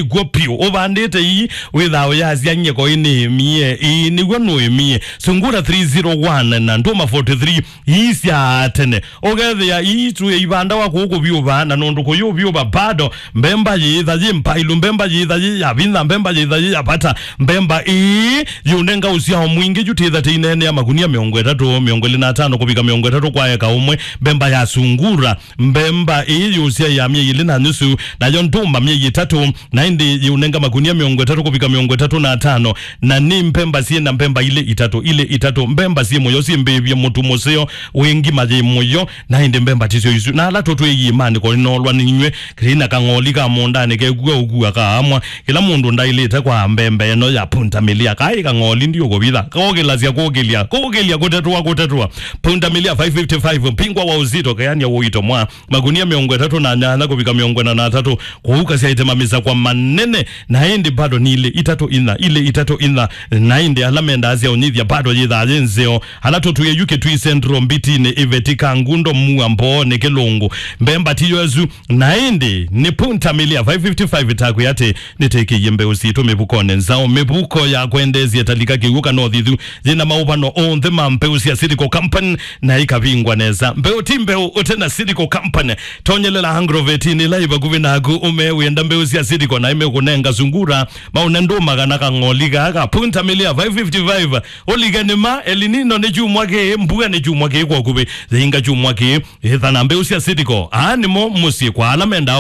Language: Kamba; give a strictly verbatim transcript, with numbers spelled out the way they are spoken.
ĩkw'o piũ. Ũvandĩte ii, wĩthaa ũyasya nyeko ĩ nĩĩmie. Ĩĩ, nĩw'o nũĩmie. Sungura three zero one na ndũma forty-three ii sya tene. Ũkethĩa ii tu ĩivandawa kũũ kũvyũva, na nũndũ kũyũvyũva bado, mbemba yĩĩtha yĩ mpailu, mbemba yĩĩtha yĩ ya vinya, mbemba yĩĩtha yĩ ya vata. Mbemba ĩĩ yĩũnenga ũsyao mwingĩ yu tĩtha tĩineenea makunia mĩongo ĩtatũ, mĩongo ĩlĩ na atano kũvika mĩongo ĩtatũ kwa eka ũmwe. Mbemba ya sungura, mbemba ĩĩ yũsyaĩa myei ĩlĩ na nusu, nayo ndũma myei ĩtatũ, na ĩndĩ yĩũnenga makunia mĩongo ĩtatũ kũvika mĩongo ĩtatũ na atano. Na nĩ mbemba syĩ na mbemba ilĩ itatũ, ilĩ itatũ, mbemba syĩ mũyo, syĩ mbĩvye, mũtu mũseo, wĩ ngima yĩ mũyo, na ĩndĩ mbemba tisyo isu. Na ala tũtwĩie maandĩko nĩnolwa nĩ inyw'ĩ, kĩna kang'oli ka mũũndanĩ kekua ũkua kaamwa. Kĩla mũndũ ndaĩlĩte kwa mbemba ĩno ya pundamilia. Kaĩ kang'oli ndiũkũvitha. Kũkĩlasya kũkĩlya. Kũkĩlya kũtetwa kũtetwa. Pundamilia five fifty-five. Pingwa wa uzito, keania ũito mwa. Makunia mĩongo ĩtatũ na nyanya kũvika mĩongo ĩna na atatũ. Kũu kasyaĩte mamisa kwa manene. Na ĩndĩ bado nĩ ilĩ itatũ inya, ilĩ itatũ inya. Na ĩndĩ ala mendaa sya ũnyithya bado yĩthaa yĩ nzeo. Ala tũtwĩe yu Kitui Central, Mbitinĩ, Iveti, Kangundo, Mua, Mboonĩ, Kĩlũngũ. Mbemba tiyo ĩsu. Na ĩndĩ nĩ pundamilia five fifty-five ĩtakwĩa atĩ nĩtĩkĩie mbeũ sitũ mĩvukonĩ nzaũ, mĩvuko ya kwendeesya ĩtalika kĩw'ũ kana ũthithu, yĩna maũvano onthe ma mbeũ sya Seedco Company na ĩkavingwa nesa. Mbeũ ti mbeũ ũte na Seedco Company. Tonyelela agrovetinĩ ĩla ĩ vakuvĩ naku, ũmee wĩenda mbeũ sya Seedco na ĩmekũnenga sungura, maũne ndũma kana kang'oli kaa ka pundamilia five fifty-five. Ũlike nĩma, El Nino nĩ kyumwa kĩĩ, mbua nĩ kyumwa kĩĩ kwa ũkuvĩ, yĩinga kyumwa kĩĩ, ĩtha na mbeũ sya Seedco. Aa nĩmo mũsyĩ kwa ala mendaa